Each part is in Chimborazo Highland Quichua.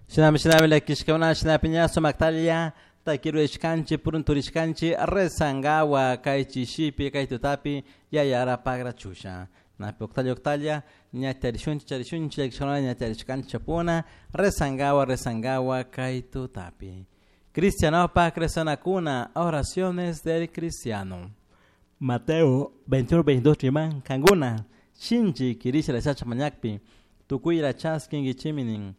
Shinami shinami llakishkakuna shinapi ña sumaktalla takirurishkanchik purunturishkanchik rezankawa kay chishipi kay tutapi yayara pagrachusha. Napi uktalla uktalla ña charishunchik charishunchik llakishkakuna ña charishkanchik chapuna rezankawa rezankawa kay tutapi. Cristianopak rezanakuna oraciones del cristiano. Mateo 21 22 riman kankuna shinchi kirisha rezasha mañakpi tukuyra chaskinkichimi nin.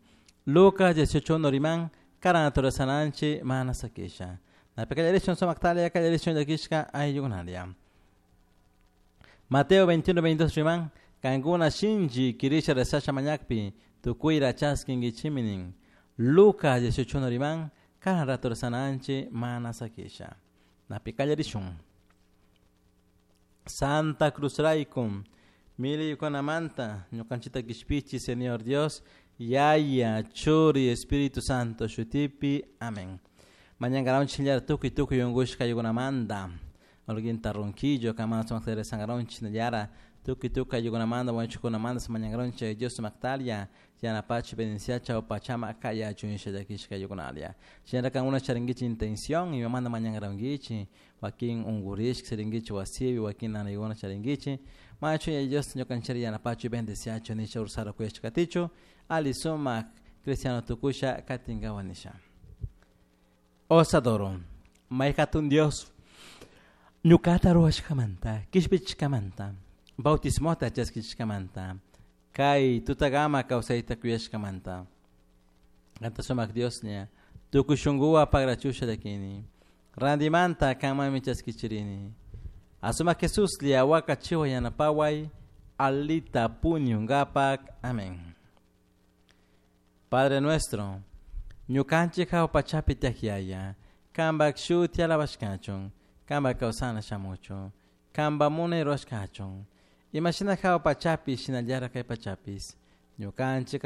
Lucas 18 riman karan rezananchik mana sakisha. Napi kallarishun sumaktalla kallarishun llakishka ayllukunalla. Mateo 21 22 riman kankuna shinchi kirisha rezasha mañakpi tukuyra chaskinkichimi nin. Lucas 18 riman karan rato rezananchik mana sakisha. Napi kallarishun. Santa Cruz raykum millaykunamanta ñukanchikta kishpichi Señor Dios Yaya Churi Espíritu Santo shutipi amén. Mañankaranchik shinallara tukuy tukuy unkushka ayllukunamanta Holguinta Ronquillo kamana sumakta rezankaranchik shinallara tukuy tukuy ayllukunamanta wañuchikkunamanta mañankaranchik Dios sumaktalla yanapachi bendiciacha pachama kayachun nisha llakishka ayllukunalla. Shinallara kankuna charinkichik intención imamanta mañankarankichik wakin unkurishka charinkichik wasipi wakin nanaykuna charinkichik machu Yaya Dios ñukanchikta yanapachu bendiciachu nisha ursara kuyashka katichu ali sumak cristiano tukusha katinkawa nisha. Os adoro. May hatun Dios ñukata ruwashkamanta kishpichishkamanta bautismota chaskishkamanta kay tutakama kawsayta kuyashkamanta kanta sumak Dioslla tukuy shunkuwan pagrachusha llakini rantimanta kanmanmi chaskichirini asumak Jesuslla wakachiwan yanapaway alita puñunkapak amén. Padre nuestro ñukanchik hawa pachapi tiyak Yaya kanpak shuti alabashkachun kanpak kawsana shamuchun kanpak munay rurashkachun imashina hawa pachapi shinallara kay pachapish ñukanchik.